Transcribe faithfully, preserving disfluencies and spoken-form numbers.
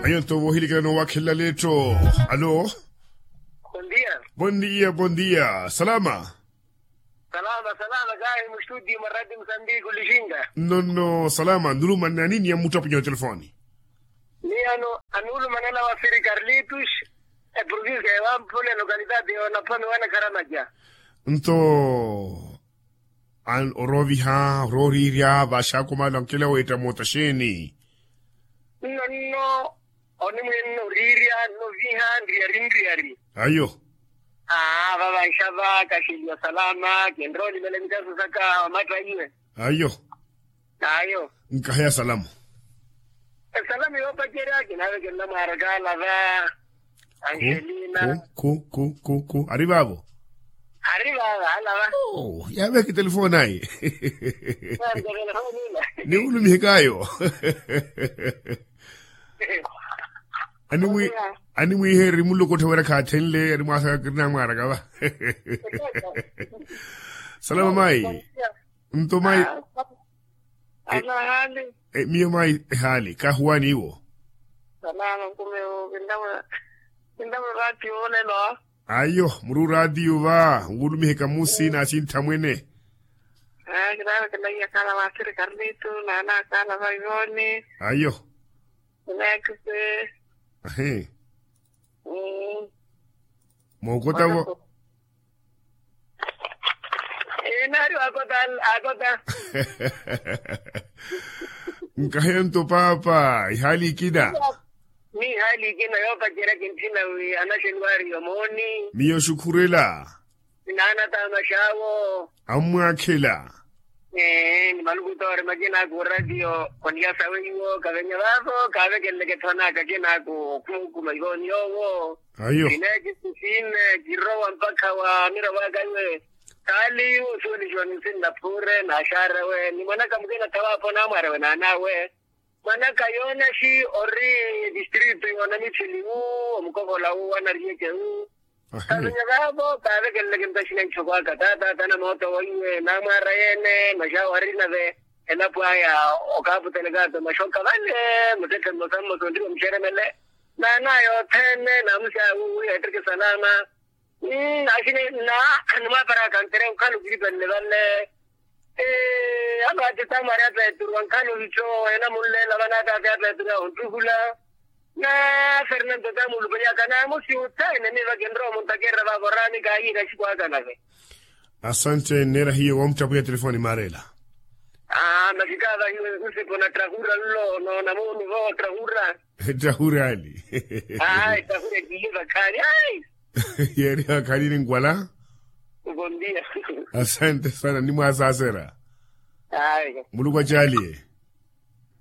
Ayo nto voohilekela noowakhelela leetto. Alo. Bondia. Bondia bondia salama. Salama salama kahi mustudi maradi musambiki ulishinga. Nonno salama nulumanani ni amuttapunyo wa telefoni. Ni ano anulumanela wa siri karlitus. Eprovinsia ya wamphule lokalidade yonaphwami wana kharamaja. Nto an orooviha orooriirya vaxakomala nkela weetta moota xeeni? Nonno onimwinna oriirya nnoviha nriyari nriyari. Ayo. Aa vavanxava kaxeliwa salama kinroolivela mikaso saka wamatta iwe. Ayo. Ayo. Nkaheya salamo. Esalamu yoopacerya kinavekelela mwaaraka alava. Angelina. Khu khu khu khu khu ari vaavo? Ari vaavo alava. Yaavehe kitelefoni ayi. Niwulumihekaayo. Animwiihereri mulokottha wira khaathenle animwaasaka kirinamwaaraka va. Salama mayi. Nto mayi. Miyo mayi ehaali kahuwani iwo. Salama nkume. Kintamwe raatiyo olelo. Ayo muri oraatiyo va nwulumiheka musi n'asintha mwene. Kinavekelaiya kaala vaasiri karlitu naana kaala vaivoni. Ayo. Kinakise. Ahi. Mookota vo. Enaari waakota. Akota. Nkaheya nto paapa ihaali ikina. Ni ihaali ikina yoopacerya kintthina wi anaxeni waari yomooni. Miyo xukhurela. Naana taamaxaawo. Ammwaakhela. Ee ni maluku toori makina aku oratiyo oniyasa weiwo kavenya vaavo kaavekeleleke thonaka kina aku okhumukuma ivooni yoowo. Ayo. Sine kisu sine kirowa mpakha wa miravo aka iwe. Taali iwe osuwelixiwa ninsinna phuure naaxaarewe ni mwanaka mukina thawaapho naamwaarewe naanawe. Mwanaka yoonaxi ori distrito yoona mitthili wu omukokola wu anariyeke wu. Kavenya vaavo kaavekeleleke ntaxina ntthoko aka taataata na mooto weiwe naamwaara yeene maxaawo ari nave elapo aya. Okaaputeleka ato maxoka vale muttetthe mmosa mmosa onriwa muxeremele naanaya othene naamuxaawo wi ettekke salama. Axini na animwaaparaka ntere onkhala okilipelele vale. Alo ati tamari apeturu ankhala ovittho enamunleela vanaataati apeturu ahontuhula. Na fernando tamulupeliyaka naamusi uthene miiva kinrowa omuntakerera vaavo oraani kaahiira xiku aka nave. Asante nneera hiyo woomuttapuya telefoni maareela. Aa masi kaavahiwe nsipo na trahura nlo noona muunu vo trahura. Trahura ali. Aa trahura ekiliva khaani ai. Yeeriha khalini nkwala. Bondia. Asante sana nimwaasaasera. Muluku acaaliye.